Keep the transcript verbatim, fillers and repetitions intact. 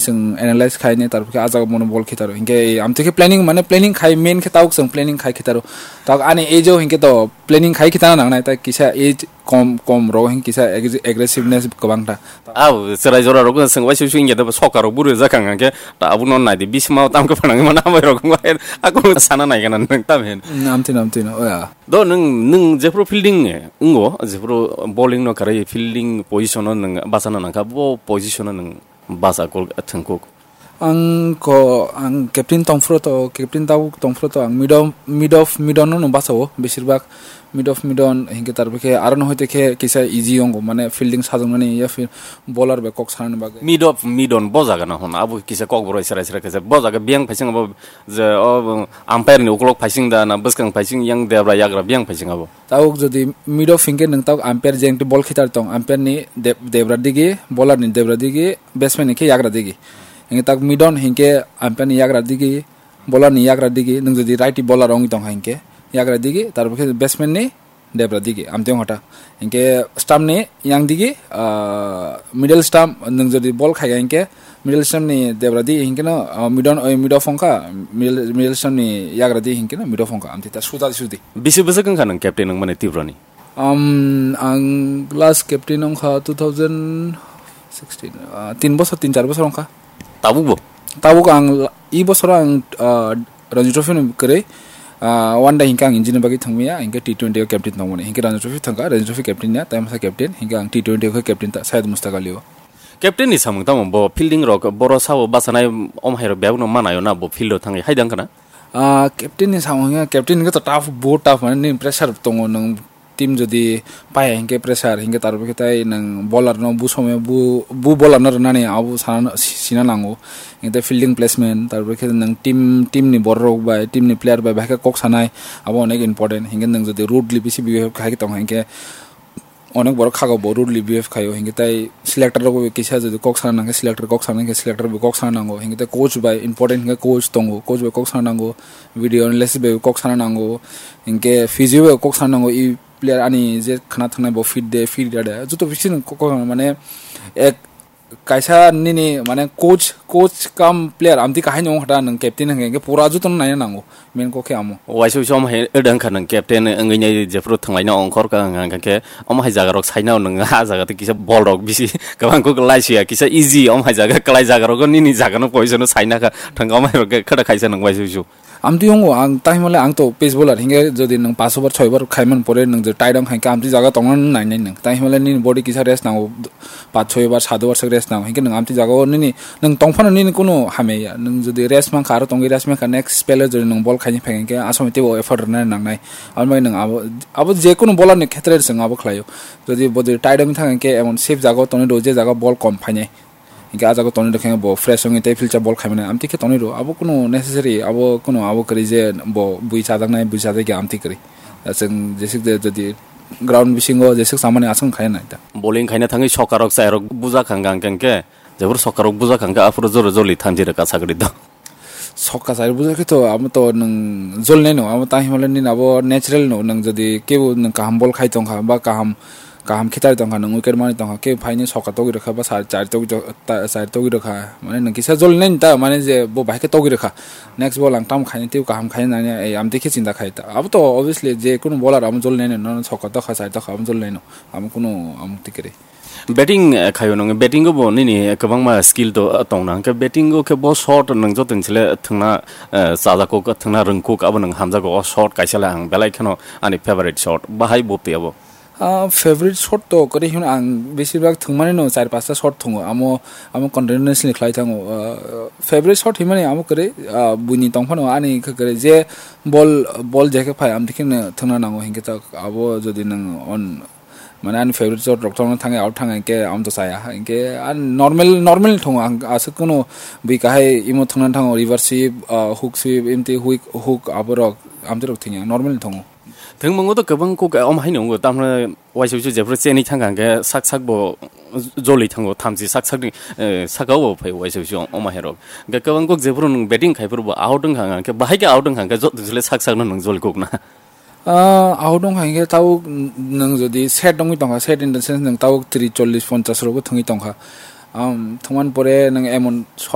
chwng analyze khaini, tarpor khe ah jaga bono bol khitaro. Hinkhe amtwi khe planning, mane planning khai, main khe tabuk chwng planning khai khitaro. Tabuk ani age o hinkhe to planning khai khitana nangnai, ta kisa age kom, kom rok hinkhe kisa ag-, aggressiveness kwbang ta. Abo chwrai jora rok swng bai susu hinkhe to soka rok buru jakang hinkhe ta abo no nai di, bisma tam khe phanang mana bai rok wngkha, ako sana nai gana nang tam hin. Mm, amtwi no, amtwi no, oya. Do nwng, nwng jephuru fielding wngo, jephuru bowling no kwrwi fielding position o nwng bachana nangkha, bo position o nwng bacha kok thwngkuk? Ang ko, ang captain tongphuru to, captain tabuk tongphuru to, ang mid of, mid of, mid on no bachao, besir bak mid of, mid on, hinkhe tarpor khe aro no hoite khe kisa easy wngo, mane fielding sajoknani ya fir bowler bai kok sanani bagwi. Mid of, mid on bo jaga no hwn, abo kisa kok borok sera sera kisa bo jaga biyang phaising abo je o umpire ni ukulok phaising da na bwskang phaising yang debra yagra biyang phaising abo. Tabuk jodi mid of hinkhe nwng tabuk umpire je engti bol khitar tong, umpire ni deb-, debra digi, bowler ni debra digi, batsman ni khe yagra digi. Hinkhe tabuk mid on hinkhe umpire ni yagra digi, bowler ni yagra digi, nwng jodi righty bowler wngwi tongkha hinkhe yagra digi, tarpor khe batsman ni debra digi, amtwi wngkha ta. Hinkhe stump ni yang digi, ah, middle stump, nwng jodi bol khaikha hinkhe middle stump ni debra di hinkhe no, ah, mid on, oi, mid off wngkha, middle, middle stump ni yagra di hinkhe no mid off wngkha, amtwi ta suda sudi. Bisi bwswk wngkha nwng captain wngmani Tripura ni? Um, ang last captain wngkha two thousand sixteen, ah, tin bosor, tin char bosor wngkha. Tabuk bo? Tabuk ang la-, i bosor ang, ah, Ranji Trophy no kwrwi, ah, one day hinkhe ang injini bagwi thangmaya, hinkhe T twenty o captain tongmani. Hinkhe Ranji Trophy thangkha, Ranji Trophy captain ya, tai masa captain, hinkhe ang T twenty o khe captain ta, Syed Mustaq Ali o. Captain ni samung tamo bo fielding rok, boro sao bachanai om hai rok bebak no manayo na bo field o thangwi hai dang kana? Ah, captain ni samung ya, captain hinkhe to tough, bo tough, mane nini pressure tongo, nwng team jodi paiya hinkhe pressure, hinkhe tarpor khe tai nwng bowler no bu somoi bu, bu bowler no rwnani abo sana, sina nango. Hinkhe fielding placement, tarpor khe nwng team, team ni borok rok bai, team ni player bai bahai khe kok sanai, abo onek important. Hinkhe nwng jodi rudely bisi behave khai tong hinkhe onek borok khago bo rudely behave khaio, hinkhe tai selector rok bai kisa jodi kok sana nangkhe selector kok sana, hinkhe selector bai kok sana nango, hinkhe tai coach bai important hinkhe coach tongo, coach bai kok sana nango, video analysis bai kok sana nango, hinkhe physio bai kok sana nango, i player ani je khna thangnai bo fit de, fit ya de, joto bisingo kok, kok mane ek kaisa nini mane coach, coach cum player amtwi kahai no wngkha ta nwng captain hwnkhe, hwnkhe pura joto no naina nango, main kok khe amo. Waisa waisa omo hai wngkha nwng captain wngwi nai jephuru thwnglaina ongkhor ka hwnkha hwnkhe omo hai jaga rok saina nwng ah jaga tei kisa bol rok bisi kwbang kok lai suya kisa easy omo hai jaga kwlai jaga rogo nini jaga no position no saina kha thwngkha omo hai rok khe khwda khaisa nwng waisa waisa. Amtwi wngo ang tahimale ang to pace bowler hinkhe jodi nwng paanch over choi over khaiman pore nwng je tight wng khaikhe amtwi jaga tongna nang nai nai nwng tahimale nini body kisa rest nango paanch choi over saat over swk rest nango hinkhe nwng amtwi jaga o nini nwng tongphano nini kunu hamya ya nwng jodi rest mankha aro tongwi rest mankha next spell o jodi nwng ball khaini phai hinkhe asomoi teibo effort rwna nangnai aboni bagwi nwng abo abo jekunu bowler ni khetre chwng abo khlaio jodi bo jodi tight wngwi thang hinkhe emon safe jaga o tonwi rw je jaga o ball kom phainai. Hinkhe ah jaga tonwi rwkhe bo fresh wngwi tei filcha bol khaimani amtwi khe tonwi rw. Abo kunu necessary, abo kunu abo kwrwi je bo bui chajaknai, bui chajakya amtwi kwrwi. Da chwng jeswk je jodi ground bisingo jeswk chamani aswk khaina nai ta. Bowling khaina thangwi sokarok chairok buja khang gang khe, jebur sokarok buja khang khe aphuru joro joli thanji rwka sakri do. Sokka chari bujakhe to amo to nwng jolnai no, amo tang himale nini abo natural no, nwng jodi kebo nwng kaham bol khai tongkha ba kaham, kaham khitai tongkha, nwng wicket mani tongkha, kebo phaini sokka togwi rwkha ba chari, chari togwi rwkha, mane nwng kisa jolnai ta, mane je bo bahai khe togwi rwkha, next ball ang tamo khaini tei kaham khaini nangya, ei amtwi khe chinta khai ta. Abo to obviously je kunu bowler amo jolnai no, nono sokka tokha, chari tokha, amo jolnai no, amo kunu amo twi kwrwi. Batting, eh, khaio nwng, batting o bo nini kwbangma skill to, eh, tongna. Hwnkhe batting o khe bo shot nwng joto ni sle thwngna, eh, chajakgo, thwngna rwngkuk, abo nwng hamjago. O shot kaisa le ang belai kheno ani favorite shot. Bahai bo twi abo? Ah, favorite shot to kwrwi hino ang besibak thwngmani no char pasta shot thwngo. Amo, amo continuously khlai thango. Ah, favorite shot himani amo kwrwi, ah, buini tongphano ani khe kwrwi je ball, ball je khe phai amtwi kheno thwngna nango hinkhe ta abo jodi nwng on Mane ani favorite shot rok thangna thangwi out thangwi hinkhe ang to chaya. Hinkhe ang normal, normal thongo ang aswk kunu bui kahai imo thangna thango reverse sweep, ah, hook sweep, imtwi hook, hook aborok amtwi rok thangya normal thongo. Thwngmung to kwbang kok om haino wngo tamno waisa waisa jephru cheni thangkha hinkhe sak sak bo joli thango thamchi sak sakni, eh, sakao bo phai waisa waisa om hairok. Hinkhe kwbang kok jephru nwng batting khaiphuru bo out wngkha hinkhe bahai khe out wngkha hinkhe joto jile sak sakno nwng joli kokna. Ah, ahok dong hai khe tabuk n-, nwng jodi set wngwi tongkha, set in the sense nwng tabuk tris, chollish, ponchash rogo thwngwi tongkha. Am, thwngmani pore nwng emon